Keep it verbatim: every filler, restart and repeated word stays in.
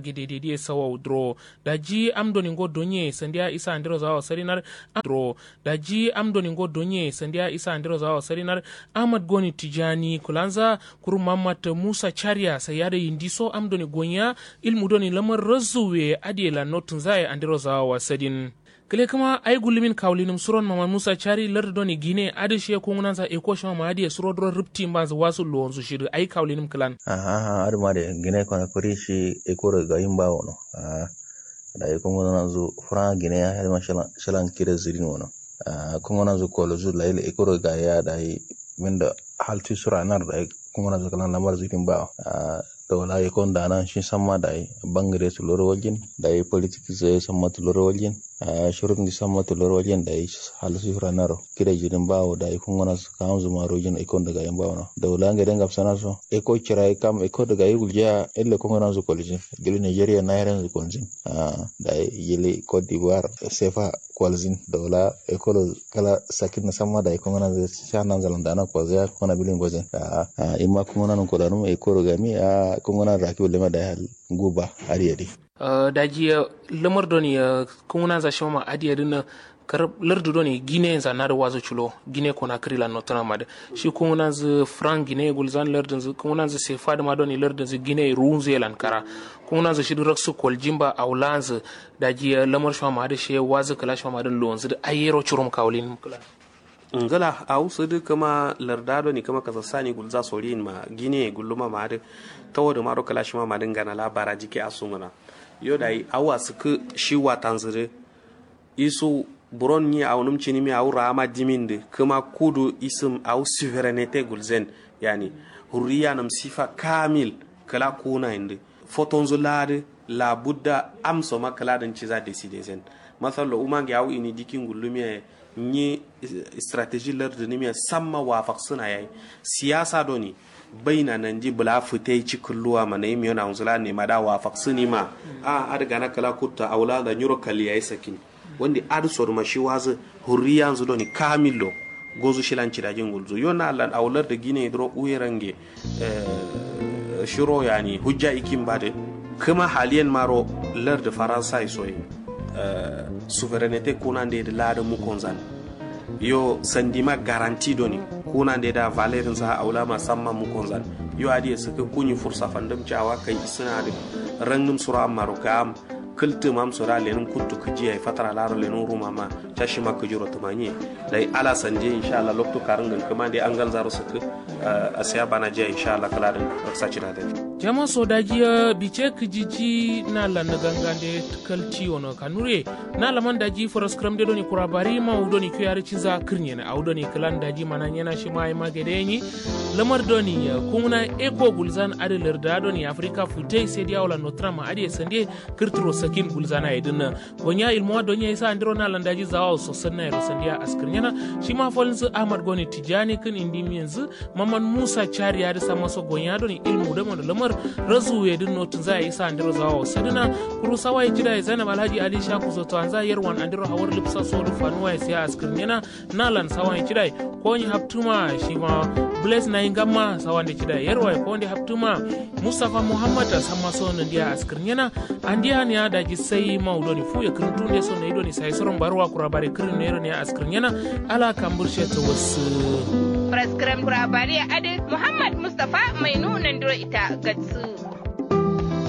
Gidedediye sawau duro. Daji am doni ngo donye sandiya isa andiro zawa sarinar. Duro. Daji am doni ngo donye sandiya isa andiro zawa sarinar. Ahmad goni tijani kulanza. Kuru mamata musa chariya sayada yindi so am doni gonya. Ilmu doni lamar razuwe adiye la notunzaye andiro zawa sadin. Kile kǝma ai gullumin kawulinǝm suron mama musa cari lardu doni gine adǝ shiye kungǝnanza eko shima ma adǝ ye suro duro rǝpti mbanzǝ wasu luwonzǝ shidǝ ai kawulinǝm kǝlan. Aha aha adǝ ma de gine kono kuri shi eko do gayin ba wono. Aha. Dayi kungǝnanzǝ fura gine ya adǝ ma shilan kire zǝrin wono. Aha kungǝnanzǝ kolozu layi eko do gayi ya dayi. Mindo haltu sura nar dayi kungǝnanzǝ kǝlan lamar zǝrin ba. Aha. Daula ye kon dana shi samma dayi bangǝre tuloro waljin. Dayi politik ze samma tuloro waljin. Shurut ngi samma tuloro waljin dayi. Hal shi fura naro kida jirin bawo dayi kungǝnanzǝ kamzǝ ma rojin eko ndagayin bawo no daula ngede ngabsana so eko cirayi kam eko ndagayi guljiya. Ille kungǝnanzǝ koljin. Jili nigeria nairanzǝ koljin. Dayi jili cote d'ivoire sefa. Kwalzin daula ekolo kala sakin na samma dayi kungana zai sha nan zalan dana kwalzai ya kungana bilin gwazin. A'a imma kungana nun kwalanu ekoro gami a'a kungana raki wulema dayi hal guba. Adiyadi. Daji lamar doni kungana za shima ma adiyadi na. Karab lardu doni gine za nadu wazu culo gine kona kiri lan notuna madu. Shi kungana zu frank gine gulzan lardun zu kungana zu sefa duma doni lardun zu gine runzu yelan kara. Kungana zu shidu raksu kwaljin ba aulanzu. Daji lamar shima madu shiye wazu kala shima madu luwanzu du ayyero curum kawulin kala. Ngla awu sǝdǝ kǝma larda doni kǝma kasassani gulza soriyin ma gine gulluma ma adǝ. Tawo dǝ maro kǝla shima ma dǝ ngana la baraji ke asungǝna. Yo dayi awu asǝkkǝ shi watanzǝ dǝ. Isu buron nyi awu nǝm cinimi awu raama dimin dǝ kǝma kudu isǝm awu suverenete gulzen. Yani hurriyanǝm sifa kamil. Kǝla kunayin dǝ fotonzǝ la dǝ. Labudda amso ma kǝla dǝn ciza deside zen. Masallo umange awu ini dikin gullumiya ye. Nyi strateji lardǝnǝmiya samma wafaksǝna yayi. Siyasa doni baina nandi bǝla fǝte ci kǝlluwa ma nayim yo nawunzǝ la nema da wafaksǝnima. A'a adǝ gana kǝla kutta awu la nda nyiro kalli yayi sakin. Wandi adǝ sodǝma shi wazǝ hurriyanzǝ doni kamillo. Gozu shilan cidajin gulzu yo na allan awu lardǝ gine duro uye range. Shiro yani hujja ikin badǝ. Kǝma haliyen maro lardǝ faransa ye soye. Suverenete kunande dǝ ladǝ mukonzan. Yo sandima garanti doni kunande da valerinsa aulama samma mukonzan. Yo adǝ ye sǝkkǝ kunyi fursa fandǝm cawa kai isǝna adǝ. Rangǝm suro ammaro kayam. Kǝltǝ mamso da lenǝm kuttu kǝji yayi fatara laro lenǝm rumama. Cashima kǝjiro tǝmanye. Dayi ala sanje inshallah loktu karǝngǝn kǝmande angalzaro sǝkkǝ. Asiya bana jiya inshallah kǝladǝn. Raksa cina dǝn. Jama so daji bice kǝjiji na lanǝ gangande. Kalti yono kanure. Na laman daji faraskǝram de doni kura bari ma wu doni kiyo yarǝ cinza kǝrnyena awu doni kǝlan daji mana nyena shima yima gade yenyi. Lamar doni kunguna eko gulzan adǝ larda doni afrika futai sai diya wala notrama adǝ ye sande. Kǝrtǝro sakin gulzana ye dǝnna. Gonya ilmuwa donya isa andiro na landaji zawawo sosanna yero sandiya askǝrnyena. Shima falnzǝ ahmad goni tijani kǝn indi minzǝ. Maman musa cariya dǝ samma so gonya doni ilmu dǝ mondo lamar. Razuwu ye dǝn notǝnza ye isa andiro zawawo sadǝna. Kuru sawa ye cida ye zainab alhaji ali shaku zoto anza yerwan andiro hawar lipsa so dǝ fanuwa ye siya askǝrnyena. Nalan sawan cidai. Konyi haptuma shima. Bles nayi ngamma sawande cidai yerwai konde haptuma. Mustafa muhammad a samma so nandiya askǝrnyena. Andiya niya daji sai mau doni fuye kǝrǝntunde so nayi doni sai soron baruwa kura bare kǝrǝn nero niya askǝrnyena. Ala kambur shetto wassǝ. Praskǝram kura bare adǝ muhammad mustafa mainu nandiro ita gatsǝ.